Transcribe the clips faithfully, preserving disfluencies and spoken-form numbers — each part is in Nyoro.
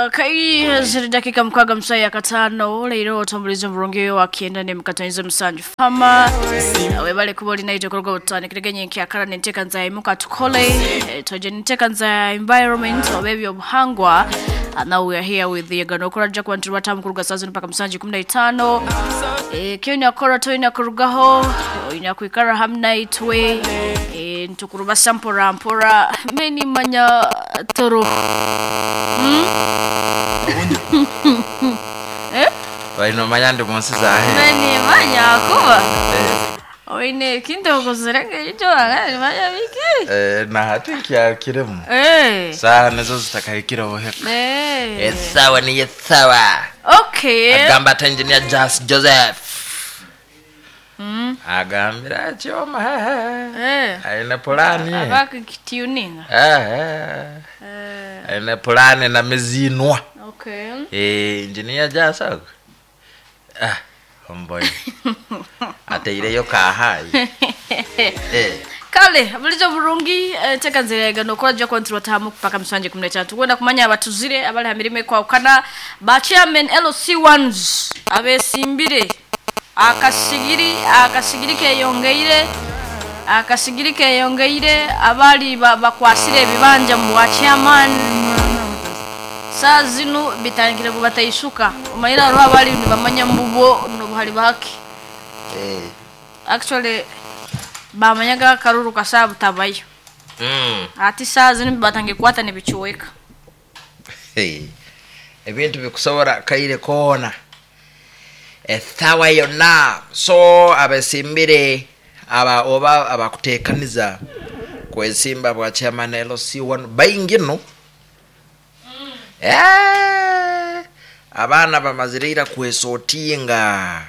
Okay, ziri dakika mukaaga musaya katano leero otambuliza omurungi wa kyenda ne mukataniza musanju fama webale kuba olina itokorwa butandikirege nkyakara nenteeka imuka tukole eh, toje nenteeka nza environment oba ebyobuhangwa. And now we are here with the ganokora jack wantu batamu kuruga saa zino paka musanju kumi na itaano. Eh, kyo akora toyina kurugaho oyina kwikara hamwe naitwe eh, ntukurubasa mpora mpora meni manya toro. Eh? Wainomanya ndi munsi zahe. Meni manya kuba oine ekintu okozere ekyo manya biki. Eh, na hati kyakiremu Eh. saha nizo zitakahikira buheka. Eh. Esawa ni esawa. Okay. Agamba ati engineer Jas Joseph. Mm. Agambira kyoma Eh. aine pulani. Abakituninga. Eh, Eh. aine pulani na mizinwa. Okay. Eh, engineer Jas ago. Ah, homeboy. Ateireyo kahayi. Eh. Kale bulijo burungi teka nzirega nokora jya kontrol tamu paka musanje kumi na tatu kwenda kumanya abatuzire abali hamirime kwawukana ba chairman L C ones abesimbire akasigiri akasigiri keyongeire akasigiri keyongeire abali bakwasire ebibanja mu wa chairman saa zino bitangire kubatayisuka omayira ro abali nibamanya mbubo nobuhali baki. Eh. Actually bamanyaga karuru kasabu tabayo. Mm. Ati saa zino batangiye kukwata nibicuweka. Hey. Ebintu bikusobora kaire koona ethawa yonna. So abesimbire aba oba abakuteekaniza kwesimba bwa chairman L C one baingi no. Mm. Eh, abaana bamazire kwesotinga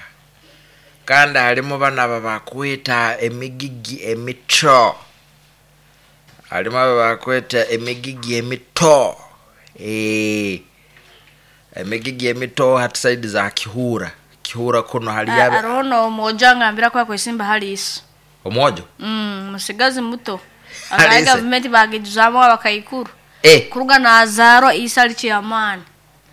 kandi halimu bana babakweta emigigi emito, halimu ababakweta emigigi emito. Eh, emigigi emito hati saidi za Kihura. Kihura kuno hali yabe arono omwojo angambira kwa kwesimba hali isi omwojo. Mm, musigazi muto akaye government bagijuzamo abakaikuru eh kuruga nazaro isa ali chairman.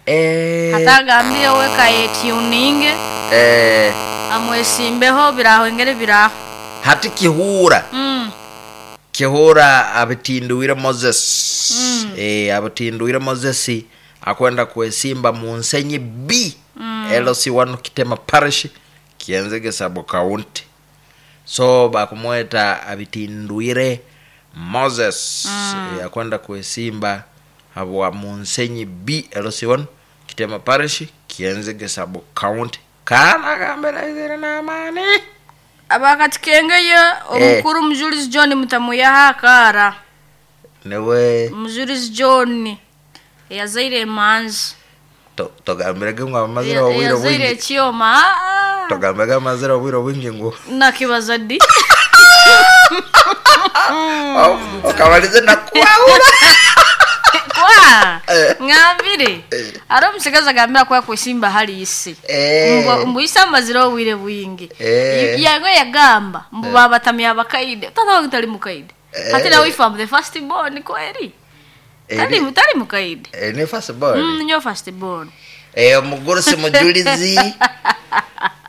Eh, atagambire we kaye tuninge eh amwesimbeho biraho engere biraho hati Kihura. Mm. Kihura abitinduire Moses. Mm. Eh, abitinduire Moses akwenda kwesimba mu Nsenyi B. Mm. L C one Kitema Parish Kienzege sub county. So bakumweta abitinduire Moses. Mm. Eh, akwenda kwesimba habwa mu Nsenyi B L C one Kitema Parish Kienzege sub county. Kana gambira izire na amani. Abakatikengeye omukuru eh. Mujulizi John mutamuyaha akara newe Mujulizi John yazaire emanzi. Togambirege ngu amazire obwire yazaire bwingi ekyoma. Togambirege amazire obwire bwingi ngu nakibaza ddi okabalize nakwahura kwa Eh. ngambire Eh. ari omusigazi agambira kuba kwesimba hali isi Eh. Mbu- mbu isi amazire obwire bwingi Eh. yange yagamba mbu babatamya abakaide tata wange tali mukaide. Eh. Ate nawe if I'm the first born kweri tali tali mukaide. Eh, ni first born. Mm, nyo first born. Eh, omugurusi mujulizi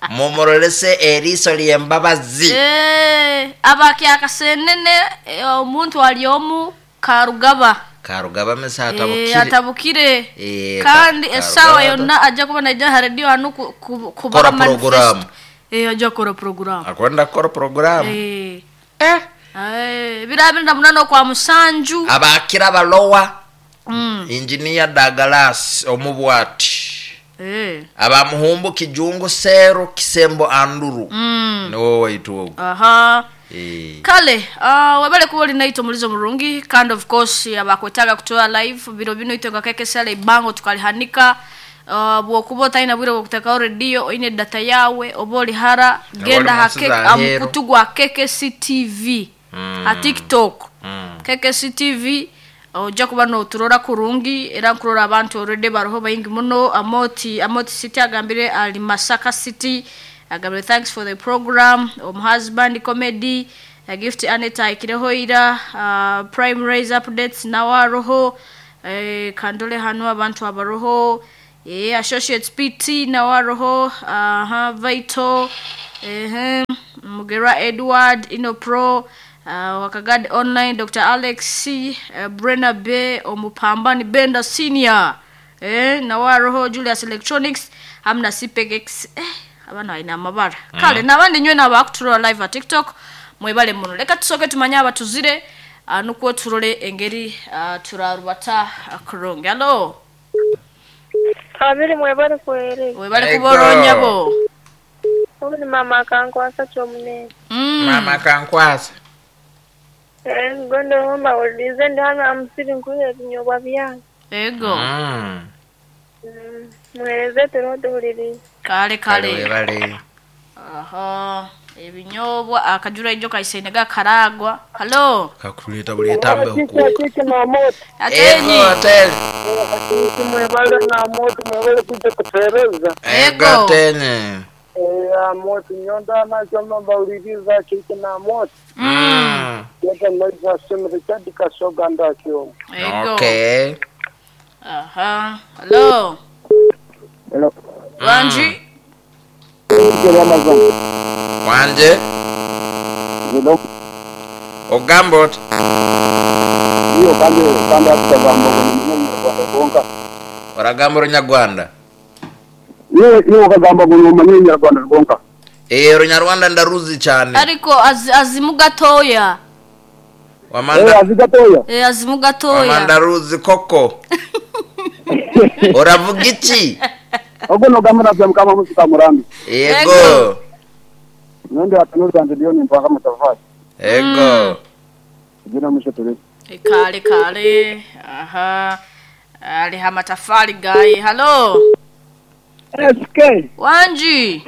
mumurolese eriiso ly'embabazi. Eh, abakyakasenene eh, omuntu ali omu Karugaba Karugaba mesa Eh, atabukire. atabukire Eh, kandi Ka- esawa Karugaba yonna ajja kuba naija ha radio hanu ku- ku- kubaha Kora manifesto. programu. Eh, ajja kukora programu. Akwenda kukora programu. Eh. Eh. Eh, biro abiri na munana okwa musanju. Abakira balowa. Mm. Engineer Douglas omubwati. Eh. Abamuhumbu Kijungu Seru Kisembo Anduru. Mm. Niwo waitu ogu. Aha. Eh. Kale, uh, webale kuba olina omulizo murungi kandi of course abakwetaaga kutoa live biro bino itwe nga kekesala ebango tukalihanika. Uh, bwokuba otalina bwire bwokutekaho radio oine data yawe oba oli hara genda Oli ha munsi ke- za Ahero. amukutu gwa K K C T V Mm. ha TikTok. Mm. K K C T V ojja kuba noturora kurungi era nkurora abantu already baroho baingi muno. Amoti Amoti City agambire ali Masaka City agambire thanks for the program om husband comedy uh, gift Aneta ikireho ira uh, prime raise updates nawaroho Eh, kandole hano abantu abaroho eh, associates pt nawaroho aha vital ehe mugera edward inopro uh, wakagad online dr alex c uh, brena b omupambani benda senior eh, nawaroho julius electronics hamwe na cpx eh, abana balina amabara mm. Kale nabandi nywe nabakuturola live a tiktok mwebale muno. Leka tusoke tumanye abatuzire uh, nukwo turole engeri uh, turarubata uh, kurungi. Alo Abiri mwebale kuhereza. webale Ego. kuboronyabo. Ubu ni mama akankwasa kyomunene. Mm. Mama kankwasa. Eh, ngondo homa ulize ndi hano amusiri nkuye ebinyobwa byange. Ego. Mm. Mm, Muhereze turiho duhuririye. Kale Kale kale. webale. Aha ebinyobwa akajura ijo kaisene gakaragwa. Halo Kakuleta buletambe huku. Kiki na moto atenyi. Ego ateni. kiki mwebale na moto mwebale kuja kutereza Ego Ego. ateni. eh moto nyonda na choma bauliriza kiki na moto Mm. yata maiza sema Richard Kasoga ndakyo. Ego. Okay. Aha. Halo. Hello. Wanji. Kiki Amazon. Wanje Hello. ogamba oti Iyo kandi kandi atagamba ngo ni Rwanda. oragamba orunyarwanda. Iyo iyo kagamba ngo ni Umunyarwanda rwonka. Eh orunyarwanda ndaruzi cyane. Ariko az, azimu gatoya. Eh Wamanda azigatoya. Eh azimu gatoya. wamanda ruzi koko. Oravuga iki? Ogo no gamara bya mukama musika murambi. Ego. Nende atanuza ndio ni mpaka mutafai. Ego. Jina mwisho tuli. Kale kale. Aha. Ali hamatafari gayi. Halo. S K Wanji.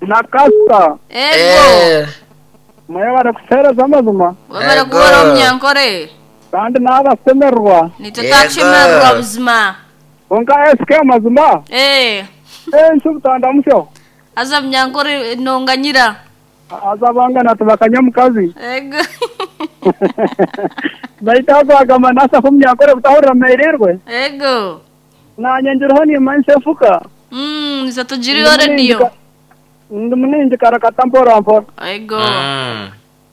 na Kasta Ego. Eh. mwebale kutereza amazima Webale Ego. kubora omunyankore. kandi n'abasemerwa Nitatachemerwa buzima. konka S K amazima Eh. ensi obutanda musyo Aza munyankore nonganyira. azabangana tubakanya mukazi Ego. baita bagamba nasa kumnyankore butahurira meirirwe Ego. nanye njiriho nimanisa efuka Mm, nisatujiriyo radio. ndi muningi karakata mpora mpora Ego. Mm.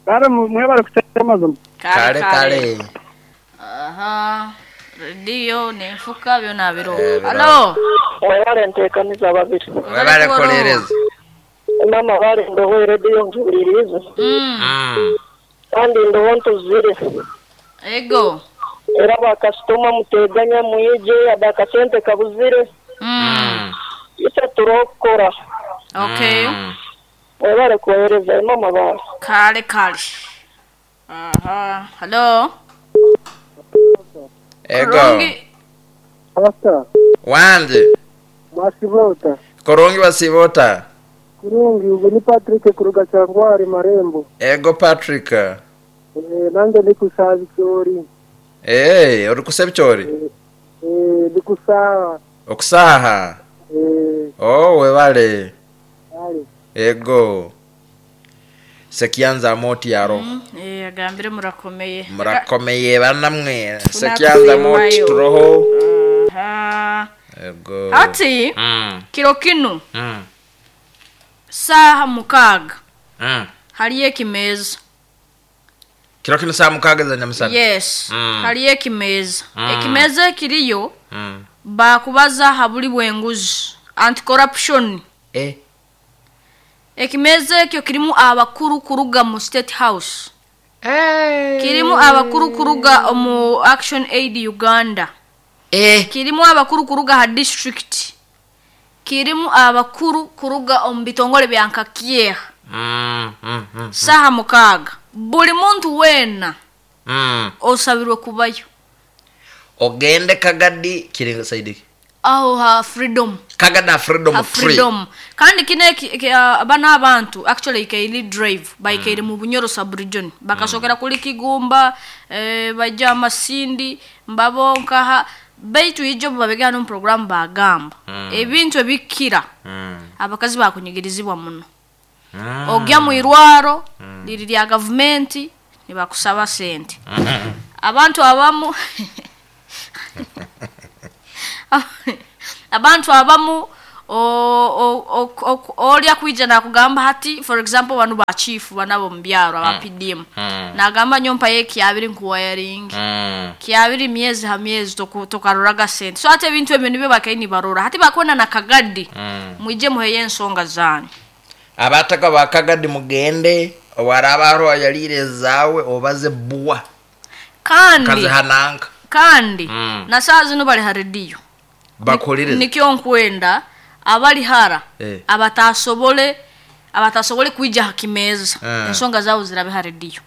kare mwebale kutereza amazima Kale kale. Aha. Radio n'enfuka byona biro. Eh, biro. Halo. Mwebale nteekaniza babiri. Webale kulereza. Mama bale ndoho rediyo njuhuririze. Mm. Mm. Kandi ndoho ntuzire. Ego. Era bakasitoma muteganya muyije abakasente kabuzire. Mm. Ise turokora. Okay. Mm. Mwebale kuhereza mama bale. Kale kale. Aha. Halo. Ego. Kurungi. Pastor Wanje mwasibota korungi basibota. kurungi ubu ni Patrick kuruga cyangwari marembo Ego Patrick. eh nange ndi kusaba icyori Eh uri kusaba icyori? eh ndi kusaba Okusaha. eh Oh webale. ari Ego. Sekianza moti yaro. Mm, eh agambire murakomeye. Murakomeye banamwe. Sekianza moti Tunakusimayo. turoho. Aha. Ego. Ati Mm. kiro kinu Mm. saha mukaaga Mm. haliyo ekimeeza. Kiro kino saa mukaaga za nyamusana. Yes. Mm. Haliyo ekimeeza. Mm. Ekimeeza ekiriyo Mm. bakubaza habuli bwenguzi anti corruption. Eh. Ekimeeza ekyo kirimu abakuru kuruga mu state house. Eh. Kirimu abakuru kuruga mu Action Aid Uganda. Eh. Kirimu abakuru kuruga ha district. Kirimu abakuru kuruga omu bitongole bya nkakyeha. Mm. Mm. Mm. Saha mukaaga. Buli muntu weena Mm. osabirwe kubayo. Ogende Kagadi kiri saidi. Aho ha freedom. Kagada freedom Ha tree. freedom. Kandi kino eki- eki- ah, bano abantu actually ikaili drive baikaire mu Bunyoro sub region bakasokera kuli Kigumba eh, bajja Masindi mbabonkaha baitu ijo babegana mu program bagamba Mm. ebintu ebikira Mm. abakazi bakunyigirizibwa muno. Mm. Ogya mu irwaro liri lya gavumenti nibakusaba sente. Mm. Abantu abamu Abantu abamu olya kwija nakugamba hati, for example, banu ba chief banabo mubyaro aba P D M. Mm. Nagamba nyompa ye kyabiri nkuwayaringi. Mm. Kyabiri myezi ha myezi tokaroraga sente. So ate ebintu ebyo nibyo bakaini barora. Hati bakona na Kagadi. Mm. Mwije muheye ensonga zanyu. Abataka ba Kagadi mugende warabaro yalire zawe obaze buwa. Kandi kazihananga. Kandi mm. na saa zino bali harediyo. Bakolireze. Nikyo nkwenda abali hara eh. abatasobole abatasobole kuija hakimeza eh. Ensonga zao zirabe harediyo.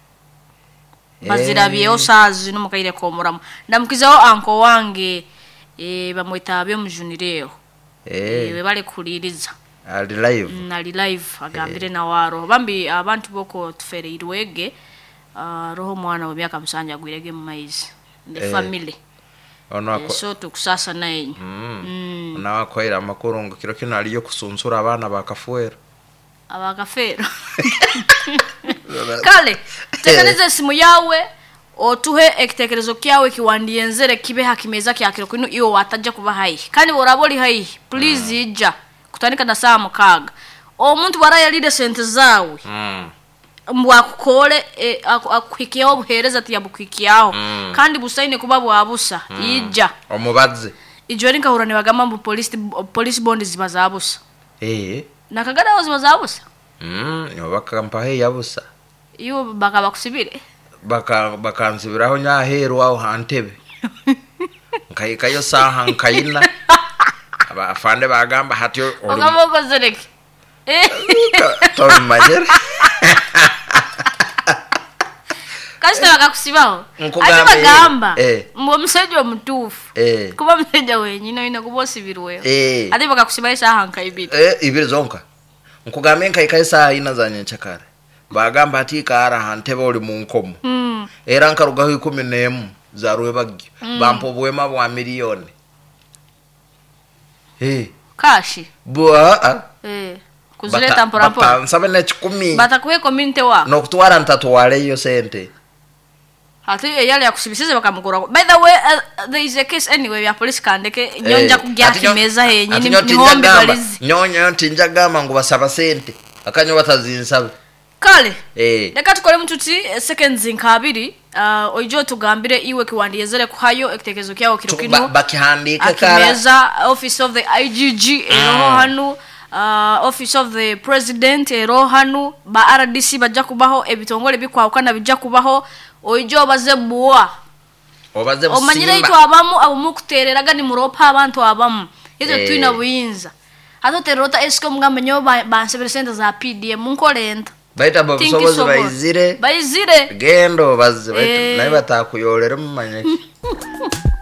Bazirabyeho eh. saa zino mukaire komuramu. Ndamukizaho anko wange eh bamwita abyo mujunireho. Eh. E, bale kuliriza. Ali live. Mm, ali live agambire eh. Na waro. Bambi abantu boko tufereirwege uh, roho mwana wa myaka musanja gwirege mu maizi. The eh. family. Ono ako eh, so tukusasa naye. Mm. Mm. Na wakoira amakuru ngo kiro kino aliyo kusunsura abana bakafuera. Abakafero. Kale, tekereza simu yawe otuhe ekitekerezo kyawe kiwandienzere kibe hakimeza kya kiro kino iyo wataja kuba hai. Kandi boraboli hai, please mm. ija kutandika na saa mukaga. Omuntu warayalire sente zawe. Mm. Mbwakukole e, akuhikiyaho obuhereza tiyabukwikiyaho. Mm. Kandi busaine kuba bwabusa mm. Ija. Omubaze. Ijo nkahura nibagamba mbu police police bond ziba zabusa. Eh. Nakagada ziba zabusa. Mm, yo bakampahe yabusa. Iyo bakaba kusibire. Baka bakansibiraho nyaheru aho hantebe. Nkayikayo saha nkayina. Aba afande bagamba hati ogamba okozereke. Eh. Tomanyere. Kasita bakakusibaho. Ate bagamba eh. mbu omusajja omutuufu eh. kuba musajja wenyini olina kuba osibirweho eh. Ate bakakusibaho esaaha nka ibiri eh, ibiri zonka nkugambe nkayikayo esaaha ina za nyenkyakare bagamba ati ikaara hantebe oli mu nkomo mm. Era nkarugaho ikumi n'emu za rwebagyo mm. Bampa obuhema bwa miliyoni eh. Kashi bwa ah. eh. Kuzileta mpora mpora nsabe n'ekikumi batakuhe community wa n'okutwara ntatwaleyo sente Ati eyali yakusibisize bakamukura. By the way, uh, there is a case anyway ya police kandeke nyonja eh, kugya kimeza henyi ni hombi balizi. Nyonyo tinja gamba ngo basaba sente akanyo batazinsabe. Kale. Eh. Reka tukore mututi seconds nkabiri uh, oijo tugambire iwe kiwandiyezere kuhayo ekitekezo kyawo kiro kino. Bakihandika kara. Akimeza office of the I G G eroho mm. hanu. Uh, office of the president ero hanu ba R D C bajja kubaho ebitongole bikwawukana bijja kubaho oijo baze buwa obaze omanyire busimba itu abamu abo mukutereraga ni muropa abantu abamu izo eh. twina buyinza ato terota esko mugambe nyo bansebere sente za P D M munkolenta baita babusobozi baizire baizire gendo baze eh. naye batakuyolera mumanyaki